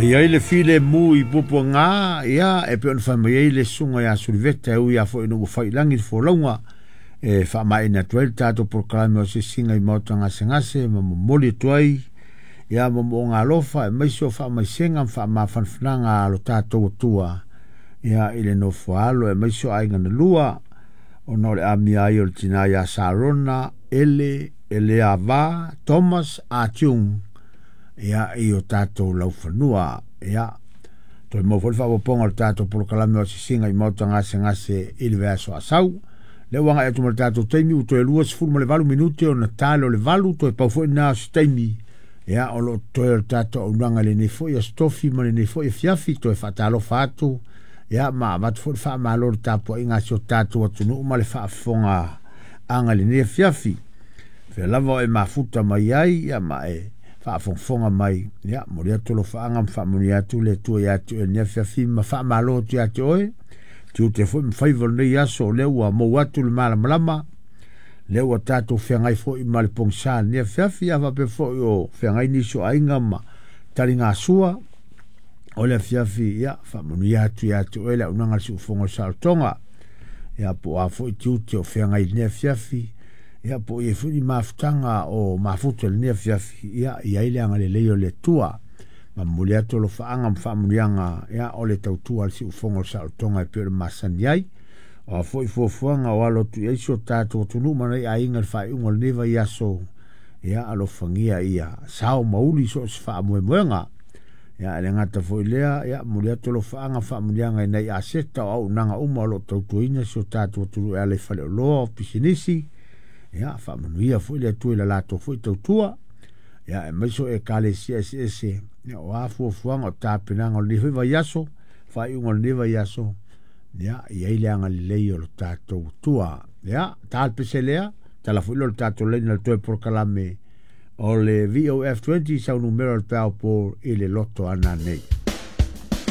E i ai le filemu i Puapuaga, ia, e pei ona fai mai ai le susuga ia Suliveta e ui lava foi ina ua fai i lagi le folauga e faamaeaina atu ai le tatou polokalame o asiasiga i maota gasegase ma momoli atu ai ia moomooga alofa aemaise o faamaisega ma faamafanafanaga a lo tatou Atua ia i le nofoaalo aemaise o aiga na lua ona o le amia ai o le tina ia Sarona Ele Eleava Thomas Atiung ia i o tatou laufanua. Ia, toe maua foi le faaopoopoga o le tatou polokalame o asiasiga i maota gasegase i le vaiaso a sau. Lea ua agai atu ma le tatou taimi ua toe 28 minute ona tale o le 8, toe pau foi lena o se taimi ia o lo o totoe o le tatou auaunaga i lenei foi aso tofi ma lenei foi afiafi. Toe faatalofa atu ia ma avatu foi le faamalo i le tapuaiga a si o tatou atunuu ma le faafofoga aga i lenei afiafi. Fea lava o e mafuta mai ai ia ma e faafogafoga mai, ia momoli atu alofaaga ma faamanuia atu le Atua ia te oe i lenei afiafi ma faamalo atu ia te oe. Tiute foi ma faiva o lenei aso o lea ua mou atu le malamalama, lea ua tatou feagai foi ma le pogisa i lenei afiafi, a faapea foi o feagai nisi o aiga ma taligasua o le afiafi, ia faamanuia atu ia te oe le auaunaga a le siufofoga o le saolotoga. Ia po o a foi tiute o feagai i lenei afiafi, ia po o i ai foi ni mafutaga o mafuta i lenei afiafi, ia i ai le agalelei o le Atua. Ma momoli atu alofaaga ma faamanuiaga ia o le tautua a le siufofoga o le saolotoga e pei ona masani ai. O a foi fuafuaga o alo atu i ai si o tatou atunuu ma nai aiga i le faaiuga o lenei vaiaso, ia alofagia ia sao ma uli so o se faamoemoega. Ia e le gata foi i lea, ia momoli atu alofaaga ma faamanuiaga i nai aseta o auaunaga uma o lo o tautuaina si o tatou atunuu e ala i faleoloa o pisinisi. Ia faamanuia foi le Atua i la latou foi tautua. Ia aemaise o ekalesia eseese, ia o a fuafuaga o tapenaga o lenei foi vaiaso, faaiuga o lenei vaiaso, ia i ai le agalelei o lo tatou Atua. Ia, ta le pese lea, tala foi lea o le tatou laina le toe polokalame o le VOF20 sau numera o le peau po i le loto ana nei.